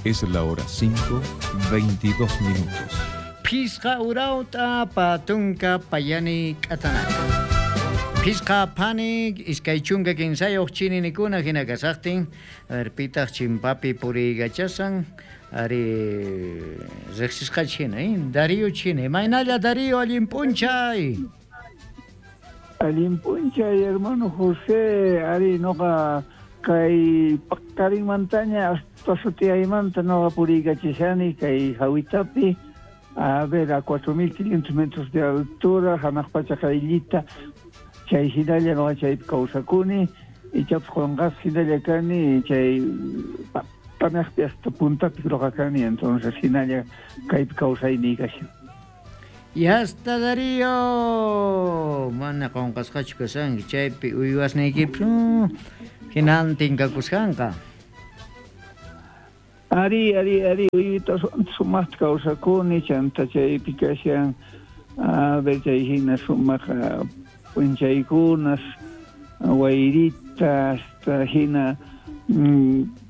Es la hora 5, 22 minutos. Phisqa urawta patunka payani k'atanaka. Phisqa phani 23 chininikuna hina kasaqtin, a ver pitaq chimpapi puriykachasan, ari riqsisqach hina, eh? Darío chini. Imaynalla Darío, allin p'unchay. Allin p'unchay, hermano José, ari noqa kay paqarinmantaña hasta sutiyaymanta noqa puriykachishani kay Jawitapi, a ver, a 4500 metros de altura, hanaq pacha qayllita, chay hinalla noqa chaypi kawsakuni, ichapas qonqasqa hinalla kani, chay patanejpi hasta puntapi noqa kani, entonces hinalla kaypi kawsayniy kashan. Yasta Darío, mana qonqasqachu kashanki, chaypi uywasniykipis hinantin kakusqanqa. Ari, ari, ari, uywitaswanta sumaqta kawsakuni, chanta chaypi kashan, a ver, chay hina sumaq p'unchaykunas, wayrita, hasta hina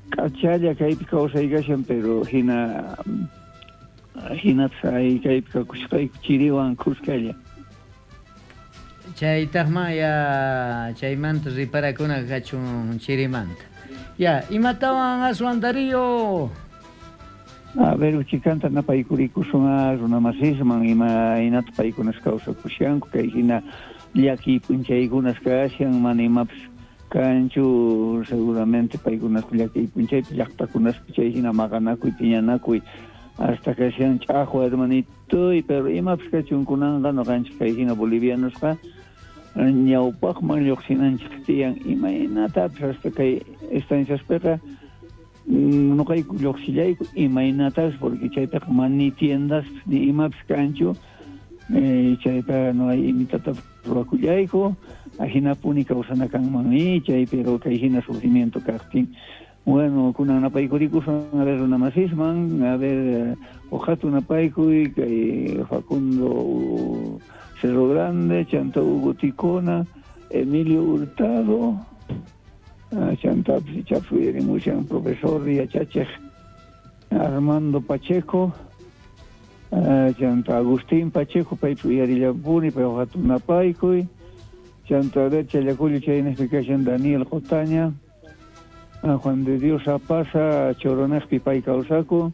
k'achalla kaypi kawsay kashan, pero hina hinatas ay kaypi kakusqayku chiriwan khuskalla. Chaytaqma ya chaymanta riparakuna kachun chirimanta. Ya, imatawan aswan Darío? A ver, uchikanta napaykurikusun a runamasisman, imaynata paykunas kawsakushanku, kay hina llakiy p'unchaykunas kashan, mana imapas kanchu, seguramente paykunas llakiy p'unchaypi llaqtakunaspi chay hina maqanakuy, phiñanakuy, hasta kashan ch'aqwa hermanitoy, pero imapas kachun kunanqa noqanchik kay hina bolivianosqa ñawpaqman lluqsinanchik tiyan, imaynatapis hasta kay estanciaspiqa noqayku lluqsillayku imaynatapis, porque chaypiqa mana ni tiendaspis ni imapis kanchu, chaypiqa no hay imitatapis ruwakullayku, ajinapuni kawsana kanman chay, pero kay hina sufrimiento kaqtin. Bueno, kunan napaykurikusun a ver runamasisman, a ver uqatu napaykuy kay Facundo Cerro Grande, chanta Hugo Ticona, Emilio Hurtado, chantapis ichapis uyarimushan profesor yachachej Armando Pacheco, chanta Agustín Pacheco, paypis uyarillampuni, pay uqatu napaykuy, chanta a ver Challacullo chaynejpi kashan Daniel Qotaña, Juan de Dios Apaza, Choronejpi pay kawsakun,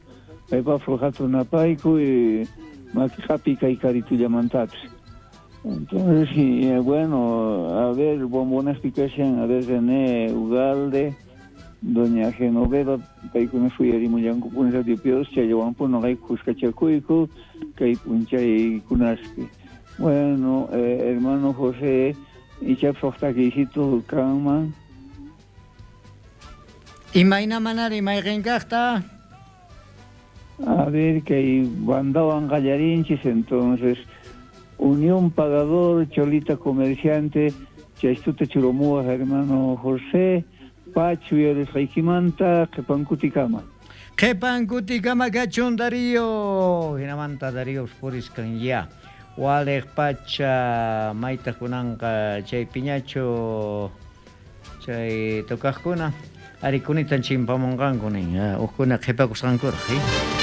paypapis uqatu napaykuy, makiqapi kay karitullamantapish. Entonces, y, bueno, a ver, Bombonejpi kashan, a ver, René Ugalde, doña Genoveva, paykuna suyarimullankupuni Radio Pios, chayllawanpuni noqayku khuskachakuyku kay p'unchaykunaspi. Bueno, hermano José, ichapis huk takiysitu kanman. Imayna manari mayqin kaqta? A ver, kay bandawan qallarinchis, entonces, Unión Pagador, Cholita Comerciante, chaystuta churamuwaj hermano José, Pachu uyarisqaykimanta qhipankutikama. Qhipankutikama kachun Darío, hinamanta Darío puriskan ya. Waliq pacha maytaq kunanqa chay piñachu chay tocaqkuna arikunitan chimpamunqanku nin, uqkuna qhipakusqankuraq.